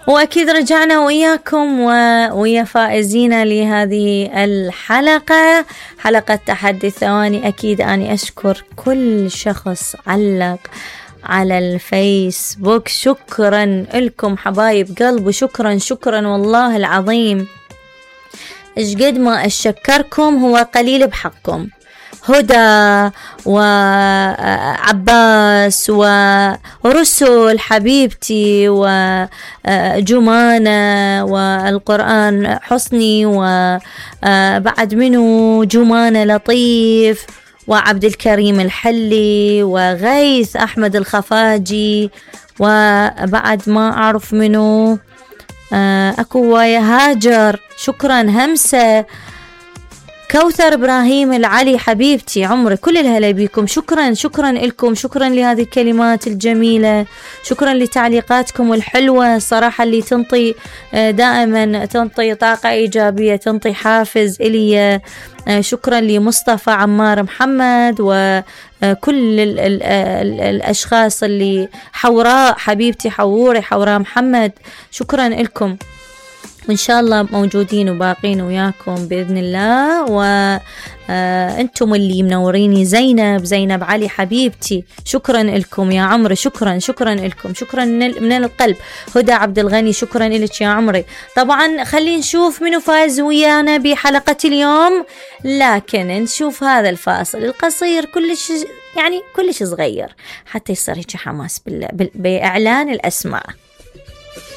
وأكيد رجعنا وإياكم ويا فائزين لهذه الحلقة، حلقة تحدي الثواني. أكيد أني أشكر كل شخص علق على الفيسبوك، شكرا لكم حبايب قلب، وشكرا شكرا والله العظيم. إيش قد ما أشكركم هو قليل بحقكم. هدى وعباس ورسل حبيبتي وجمانة والقرآن حسني، وبعد منه جمانة لطيف وعبد الكريم الحلي وغيث أحمد الخفاجي، وبعد ما أعرف منه أكو ويا هاجر، شكرا همسة، كوثر إبراهيم العلي حبيبتي عمري، كل الهلا بيكم. شكرا شكرا لكم، شكرا لهذه الكلمات الجميلة، شكرا لتعليقاتكم الحلوة صراحة اللي تنطي دائما، تنطي طاقة إيجابية، تنطي حافز إلي. شكرا لمصطفى عمار محمد وكل الأشخاص اللي، حوراء حبيبتي حوري حوراء محمد، شكرا لكم. وإن شاء الله موجودين وباقين وياكم بإذن الله. وأنتم اللي منوريني، زينب علي حبيبتي، شكرا لكم يا عمري، شكرا شكرا لكم، شكرا من القلب. هدى عبد الغني شكرا لك يا عمري. طبعا خلينا نشوف منو فاز ويانا بحلقة اليوم، لكن نشوف هذا الفاصل القصير كلش يعني كلش صغير حتى يصير هيك حماس بإعلان الأسماء.